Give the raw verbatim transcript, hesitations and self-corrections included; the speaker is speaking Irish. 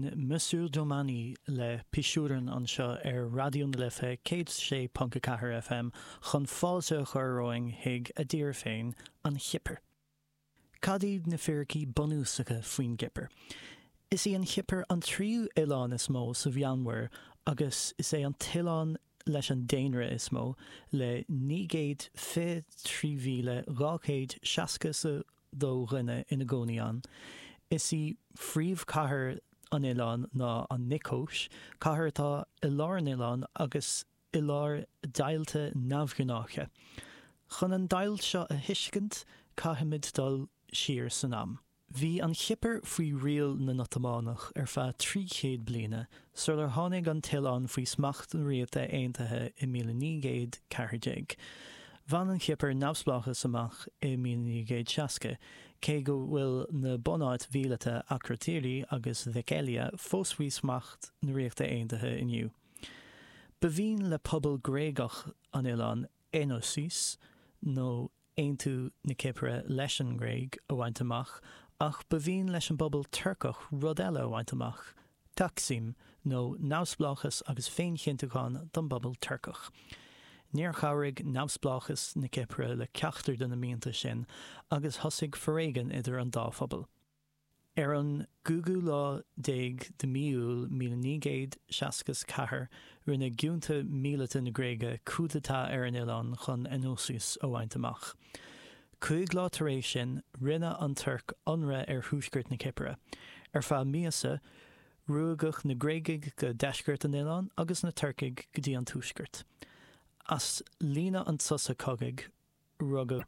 Sin Monsieur Domani le Pisuran anseo ar Raidió na Life céad sé ponc a ceathair FM chun fáilte a chur romhainn chuig a dtír féin, an Chipir. Cad iad na fíricí bunúsacha faoin gCipir? Is í an Chipir an tríú oileán is mó sa Mheánmhuir agus is é an t-oileán leis an daonra is mó, le naoi gcéad fiche trí mhíle dhá chéad seasca is a dó dhuine ina gcónaí ann. Is í phríomhchathair an oileáin ná an Niocóis, cathair atá i lár an oileáin agus i lár deighilte neamhghnáiche. Chun an deighilt seo a thuiscint, caithfimid dul siar san am. Bhí an Chipir faoi riail na nOtamánach ar feadh trí chéad bliana, sular tháinig an t-oileán faoi smacht na Ríochta Aontaithe i míle naoi gcéad ceathair déag. Bhain an Chipir neamhspleáchas amach i míle naoi gcéad seasca, cé go bhfuil na bunáit mhíleata Akrotiri agus Dhekelia fós faoi smacht na Ríochta Aontaithe inniu. Ba mhian le pobal Gréagach an oileáin Enosis, nó aontú na Cipire leis an nGréig, a bhaint amach, ach ba mhian leis an bpobal Turcach rud eile a bhaint amach, Taksim, nó neamhspleáchas agus féinchinntiúchán don bpobal Turcach. Níor chabhraigh neamhspleáchas na Cipire le ceachtar de na mianta sin agus thosaigh foréigean idir an dá phobal. Ar an gcúigiú lá déag de mhí Iúil míle naoi gcéad seasca is ceathair, rinne giúnta míleata na Gréige coup d'état ar an oileán chun Enosis a bhaint amach. Cúig lá tar éis sin, rinne an Tuirc ionradh ar thuaisceart na Cipire. Ar feadh míosa, ruaigeadh na Gréagaigh go deisceart an oileáin agus na Turcaigh go dtí an tuaisceart. As líne an tsosa cogaidh, rugadh.